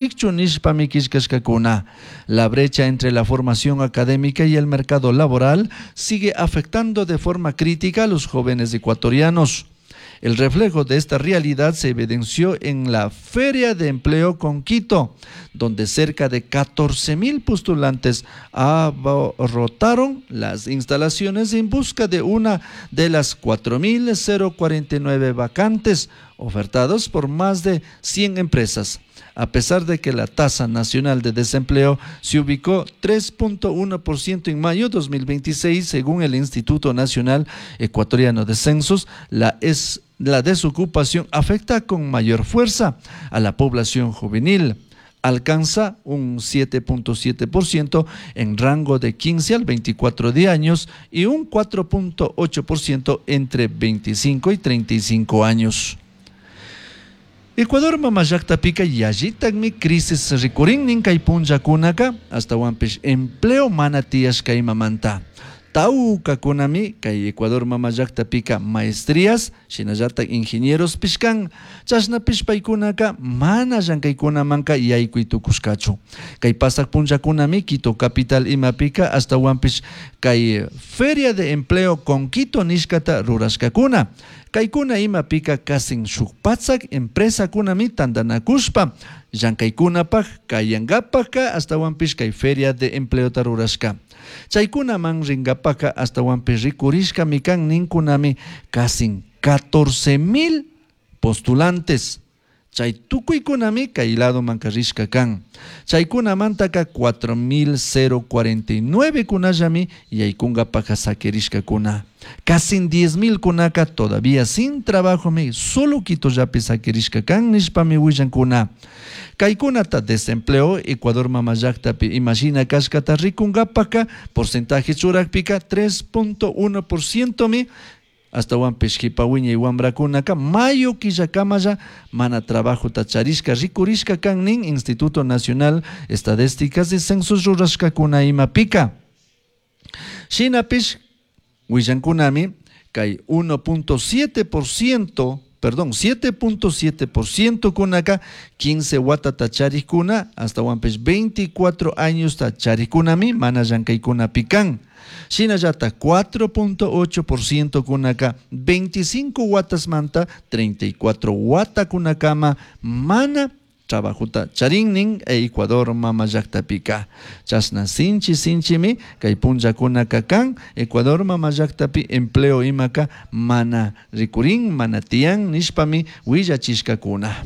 Nishpami killkashkakuna. La brecha entre la formación académica y el mercado laboral sigue afectando de forma crítica a los jóvenes ecuatorianos. El reflejo de esta realidad se evidenció en la Feria de Empleo con Quito, donde cerca de 14.000 postulantes abarrotaron las instalaciones en busca de una de las 4.049 vacantes ofertadas por más de 100 empresas. A pesar de que la tasa nacional de desempleo se ubicó 3.1% en mayo de 2026, según el Instituto Nacional Ecuatoriano de Censos, la desocupación afecta con mayor fuerza a la población juvenil. Alcanza un 7.7% en rango de 15 al 24 de años y un 4.8% entre 25 y 35 años. Ecuador mamallaqtapika yallitakmi crisis rikurin kay punllakunaka ashtawanpish empleo mana tiyashka imamanta. Tawkakunami kay Ecuador mamallaqtapika maestrías shinallatak ingenieros pishkan chashnapish paykunaka mana llankaykunamanka yaykuy tukushkachu. Kay pasak punllakunami Quito capital imapika ashtawanpish kay Feria de Empleo con Quito nishkata rurashkakuna. Kaykuna imapika kasin shuk patsak empresakunami tantanakushpa llankaykunapaj kayankapaka ashtawanpish kay Feria de Empleota rurashka. Chaykunaman rinkapaka ashtawanpish rikurishkami kan ninkunami kasin 14.000 postulantes. Chay tukuykunami kay ladomanka rishka kan. Chaykunamantaka 4.049 kunallami yaykunkapaka sakirishkakuna. Casi 10.000 kunaka todavía sin trabajo mi solo Quitollapi sakirishka kan nishpami willankuna. Kaykunata desempleo Ecuador mamallaktapi imashina kashkata rikunkapaka porcentaje churakpika 3.1% mi ashtawanpish kipa wiñay wamrakunaka mayo killakamalla mana trabajota charishka rikurishka kan nin Instituto Nacional Estadísticas y Censos rurashkakuna imapika. Shinapish willankunami kay 1.7%, perdón, 7.7% kunaka 15 watata charikuna ashtawanpish 24 años ta charikunami mana llankaykunapi kan. Shinallata 4.8% kunaka 25 watasmanta 34 watakunakama mana trabajota charinnin Ecuador mamallaqtapika. Chashna sinchi sinchimi kay punllakunaka kan Ecuador mamallaqtapi empleo imaka mana rikurin mana tiyan nishpami willachishkakuna.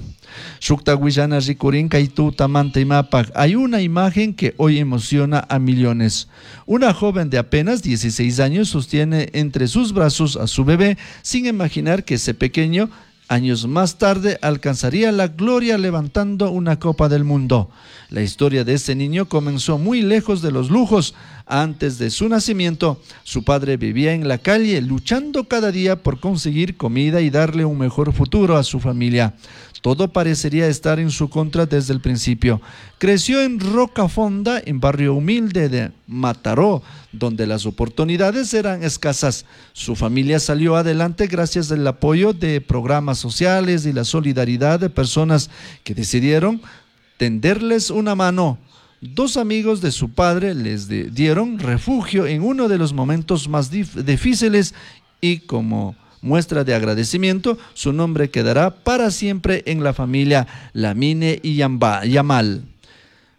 Shukta willana rikurin kay tutamanta imapaj. Hay una imagen que hoy emociona a millones. Una joven de apenas 16 años sostiene entre sus brazos a su bebé sin imaginar que ese pequeño años más tarde alcanzaría la gloria levantando una copa del mundo. La historia de ese niño comenzó muy lejos de los lujos. Antes de su nacimiento, su padre vivía en la calle luchando cada día por conseguir comida y darle un mejor futuro a su familia. Todo parecería estar en su contra desde el principio. Creció en Rocafonda, en barrio humilde de Mataró, donde las oportunidades eran escasas. Su familia salió adelante gracias al apoyo de programas sociales y la solidaridad de personas que decidieron tenderles una mano. Dos amigos de su padre les dieron refugio en uno de los momentos más difíciles y como muestra de agradecimiento, su nombre quedará para siempre en la familia Lamine y Yamal.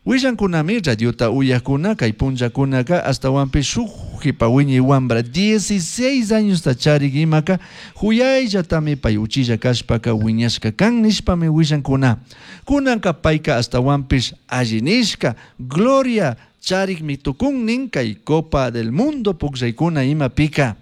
Willankunami radiota uyakuna kay punllakunaka ashtawanpish shuk jipa wiñay wambra 16 años charik imaka huyayllatami pay uchilla kashpaka wiñashka kan nishpami willankuna. Kunanka payka ashtawanpish alli nishka gloria charikmi tukun kay Copa del Mundo pukllaykuna imapika.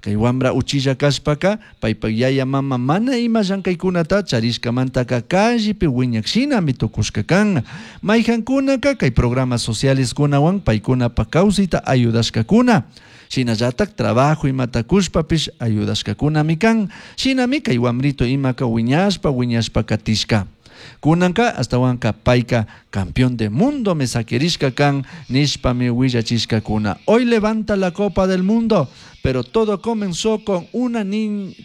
Kay wambra uchilla kashpaka paypak yaya mama mana ima llankaykunata charishkamantaka callepi wiñak shinami tukushka kan. Mayhankunaka kay programas sociales kunawan paykunapak kawsayta ayudashkakuna. Shinallatak trabajo imata kushpapish ayudashkakunami kan. Shinami kay wambrito imaka wiñashpa wiñashpa katishka. Kunanka ashtawanka payka campeón de mundo me sakirishka kan nishpami willachishkakuna. Hoy levanta la Copa del Mundo, pero todo comenzó con una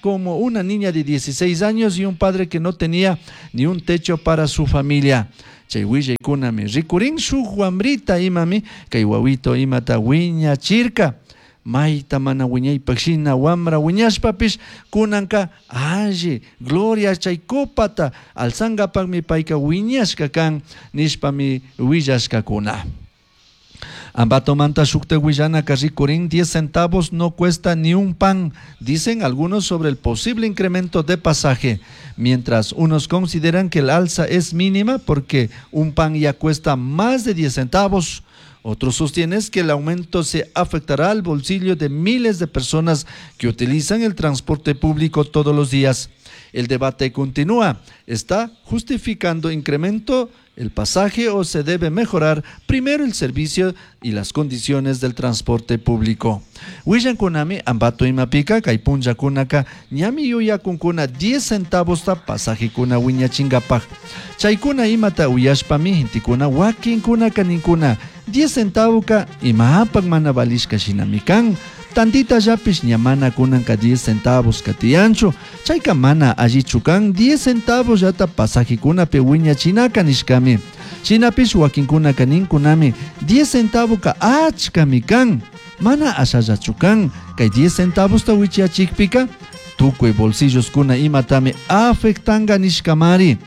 como una niña de 16 años y un padre que no tenía ni un techo para su familia. Chay willaykunami rikurin shuk wambrita imami kay wawito imata wiñachirka. Mayta mana wiñaypaq shina wamra wiñashpapish kunanka alli gloria chay copata alzangapaqmi payka wiñashka kan nishpami willashkakuna. Ambatomanta shukta willanaka rikurin 10 centavos no cuesta ni un pan, dicen algunos sobre el posible incremento de pasaje, mientras unos consideran que el alza es mínima porque un pan ya cuesta más de 10 centavos. Otros sostienen que el aumento se afectará al bolsillo de miles de personas que utilizan el transporte público todos los días. El debate continúa. ¿Está justificando incremento el pasaje o se debe mejorar primero el servicio y las condiciones del transporte público? Willankunami Ambato imapika kay punllakunaka ñami yuyakunkuna 10 centavos ta pasajekuna wiñachingapaj. Chaykuna imata uyashpami gentekuna wakinkunaka ninkuna 10 centavoka imapak mana valishka shinami kan. Tantita llapish ña mana kunanka 10 centavos katiyanchu. Chayka mana allichu kan 10 centavos llata pasajekunapi wiñachinaka nishkami. Shinapish wakinkunaka ninkunami 10 centavoka achkami kan. Mana ashallachu kan. Kay 10 centavosta wichiyachikpika tukuy bolsilloskuna imatami afectanga nishkamari.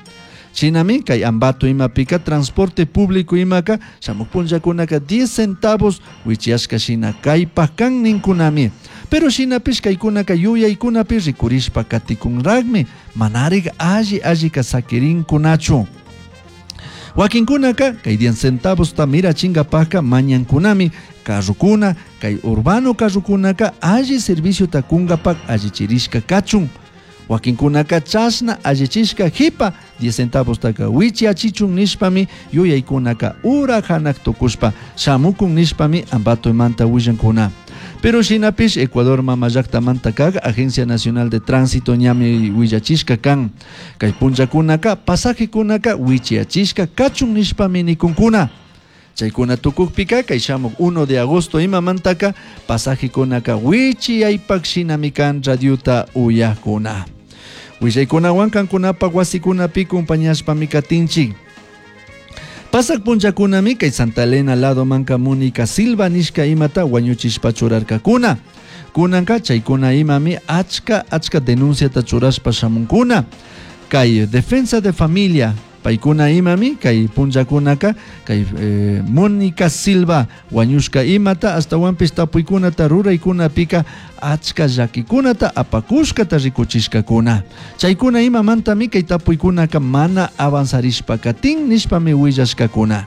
Shinami kay Ambato imapika transporte público imaka shamuq punllakunaka 10 centavos wichiyashka shina kaypaq kan ninkunami. Pero shinapish kaykunaka yuyaykunapi rikurishpa katikunraqmi manarik alli allika sakirinkunachu. Wakinkunaka kay 10 centavosta mirachingapajka mañankunami carrukuna kay urbano carrukunaka alli serviciota kungapak allichirishka kachun. Wakinkunaka chashna allichishka jipa 10 centavostaka wichiachichun nishpami yuyaykunaka ura hanak tukushpa shamukun nishpami Ambatomanta willankuna. Pero shinapish Ecuador mama llaktamanta kak Agencia Nacional de Tránsito ñami willachishka kan. Kay punllakunaka pasajekunaka wichiachishka kachun nishpami nikunkuna. Chaykuna tukukpika kay shamuk 1 de agosto imamantaka pasajekunaka wichiyaypak shinami kan radiota uyakuna. Willaykunawan kankunapaq wasikunapi compañashpami katinchik. Pasak punllakunami kay Santa Elena lado manka Mónica Silva nishka imata wañuchishpa churarkakuna. Kunanka chaykuna imami achka achka denunciata churashpa shamunkuna. Kay defensa de familia paykuna imami kay punllakunaka kay Mónica Silva wañushka imata astawanpish tapuykunata ruraykunapika achka llakikunata apakushkata rikuchishkakuna. Chaykuna imamantami kay tapuykunaka mana avanzarishpa katin nishpami willashkakuna.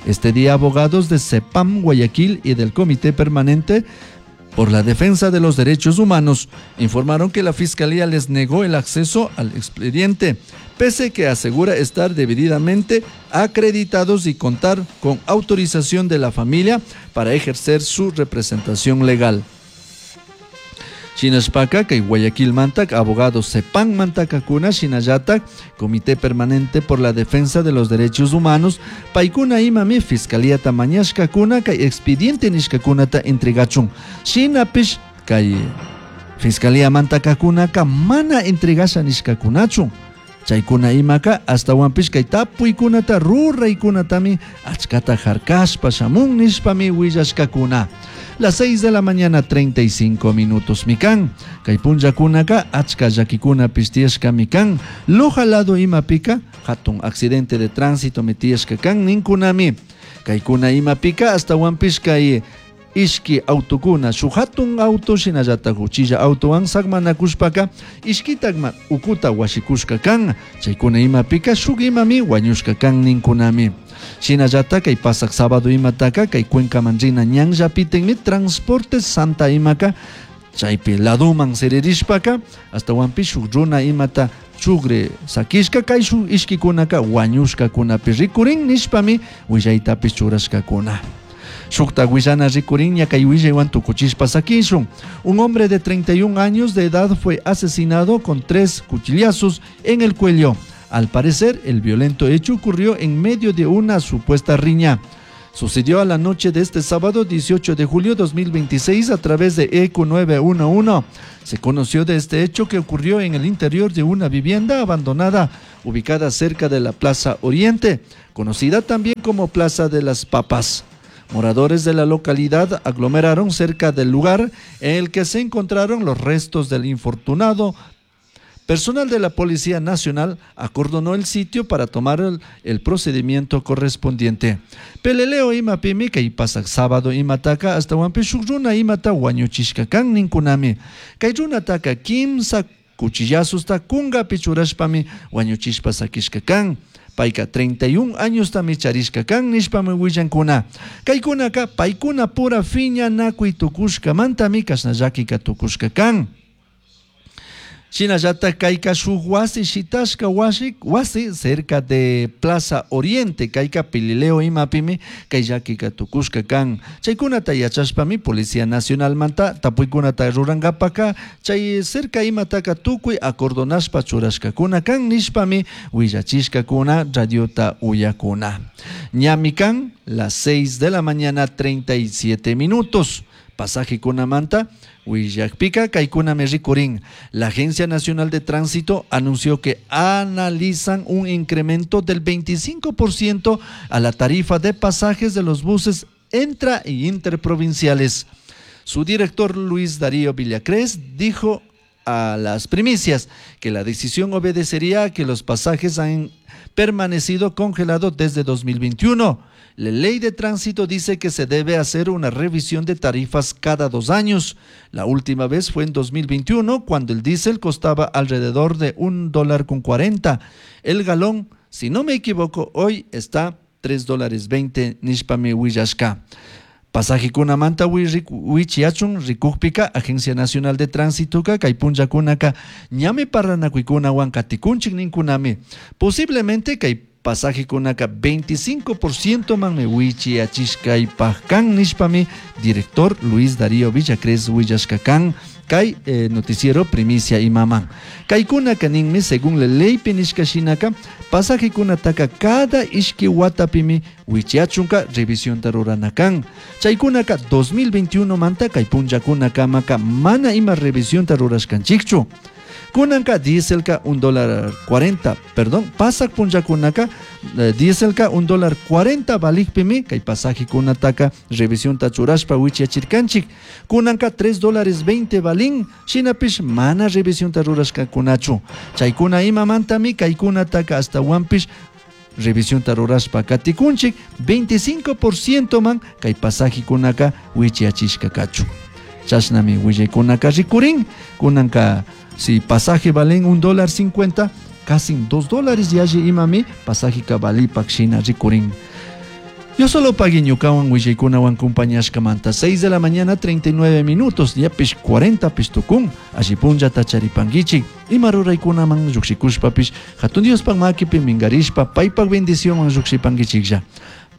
Este día abogados de CEPAM Guayaquil y del Comité Permanente por la Defensa de los Derechos Humanos informaron que la Fiscalía les negó el acceso al expediente, pese que asegura estar debidamente acreditados y contar con autorización de la familia para ejercer su representación legal. Shinashpaka, kay Guayaquil mantak, abogado CEPAM mantakakuna, shinallatak, Comité Permanente por la Defensa de los Derechos Humanos, paykuna imami, Fiscalía tamañashkakuna, kay expediente nishkakunata entregachun. Shinapish, kay Fiscalía mantakakunaka mana entregasha nishkakunachun. Chaykuna imaka astawanpish kay tapuykunata ruraykunatami achkata harkashpa shamun nishpami willashkakuna. Las 6 de la mañana 35 minutos mikan. Kay punllakunaka achka llakikuna pishtiyashka mikan. Loja lado imapika hatun accidente de tránsito mitiyashka kan ninkunami. Kaykuna imapika astawanpish kay ishki autokuna shuk hatun auto shinallata uchilla autowan sakmanakushpaka ishkitakma ukuta washikushka kan. Chaykuna imapika shuk imami wañushka kan ninkunami. Shinallata kay pasak sábado imataka kay Cuencaman rina ñanllapitenmi transporte Santa imaka chaypi laduman siririshpaka astawanpish shuk runa imata chugre sakishka kay shuk ishkikunaka wañushkakunapi rikurin nishpami willaytapish churashkakuna. Shukta willana rikurin ña kay willaywan tukuchishpa sakishun. Un hombre de 31 años de edad fue asesinado con 3 cuchillazos en el cuello. Al parecer, el violento hecho ocurrió en medio de una supuesta riña. Sucedió a la noche de este sábado 18 de julio 2026 a través de ECU 911. Se conoció de este hecho que ocurrió en el interior de una vivienda abandonada ubicada cerca de la Plaza Oriente, conocida también como Plaza de las Papas. Moradores de la localidad aglomeraron cerca del lugar en el que se encontraron los restos del infortunado. Personal de la Policía Nacional acordonó el sitio para tomar el procedimiento correspondiente. Peleleo imapimi kay pasaq sábado imataka ashtawanpish shuk runa imata wañuchishka kan ninkunami. Kay runataka kimsa cuchillazosta kungapi churashpami wañuchishpa sakishka kan. Payka 31 añostami charishka kan nishpami willankuna. Kaykunaka paykuna pura fiñanakuy tukushkamantami kashna llakika tukushka kan. Shinallatak kayka shuk wasi shitashka wasi cerca de Plaza Oriente, kayka Pelileo imapimi kay llakika tukushka kan. Chaykunata yachashpami Policía Nacionalmanta tapuykunata rurankapaka chay cerca imataka tukuy acordonashpa churashkakuna kan nishpami willachishkakuna radiota uyakuna. Ñami kan las 6 de la mañana 37 minutos. Pasaje kunamanta willakpika kaykunami rikurin. La Agencia Nacional de Tránsito anunció que analizan un incremento del 25% a la tarifa de pasajes de los buses intra e interprovinciales. Su director Luis Darío Villacrés dijo a las primicias que la decisión obedecería a que los pasajes han permanecido congelados desde 2021. La ley de tránsito dice que se debe hacer una revisión de tarifas cada 2 años. La última vez fue en 2021, cuando el diésel costaba alrededor de un dólar con cuarenta. El galón, si no me equivoco, hoy está tres dólares veinte nishpami willashka. Pasaje kunamanta wichiachun rikukpika Agencia Nacional de Tránsito ka kay punllakunaka ñami parranakuykunawan katikunchik ninkunami. Posiblemente kay pasaje kunaka 25% manmi wichiachishkaypajkan nishpami director Luis Darío Villacrés willashkakan kay noticiero primicia imaman. Kaykunaka ninmi según la ley pinishka shinaka pasaje kunataka cada ishki watapimi wichiachunka revisión ruranakan. Chaykunaka 2021 manta kay punllakunakamaka mana ima revisión rurashkanchikchu. Kunanka dieselka un dólar cuarenta, perdón, pasak punllakunaka dieselka un dólar cuarenta valikpimi kay pasaje kunataka revisión tachurashpa wichiachirkanchik. Kunanka tres dólares veinte valin, shinapish mana revisión rurashkakunachu. Chaykuna imamantami kaykunataka hasta wampish revisión rurashpa katikunchik 25% man kay pasaje kunaka wichiachishkakachu. Chashnami willaykunaka rikurin, kunanka si pasaje valen un dólar cincuenta, casi dos dólares yalli imami pasaje kabalipak shina rikurin. Yo solo pagué ñukawan willaykunawan compañashkamanta 6 de la mañana 39 minutos, yapish 40 pistukun, alli punllata charipanguichik, ima ruraykunaman lluqshikushpapish, hatun Diospak makipi mingarishpa, paypak bendicionwan lluqshipanguichiklla.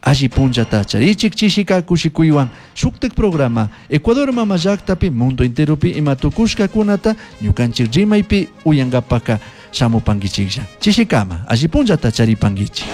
Alli punllata charichik chishika kushikuywan shuktik programa Ecuador mama llaktapi mundo enteropi ima tukushkakunata ñukanchik rimaypi uyankapaka shamupanguichiklla. Chishikama alli punllata charipanguichik.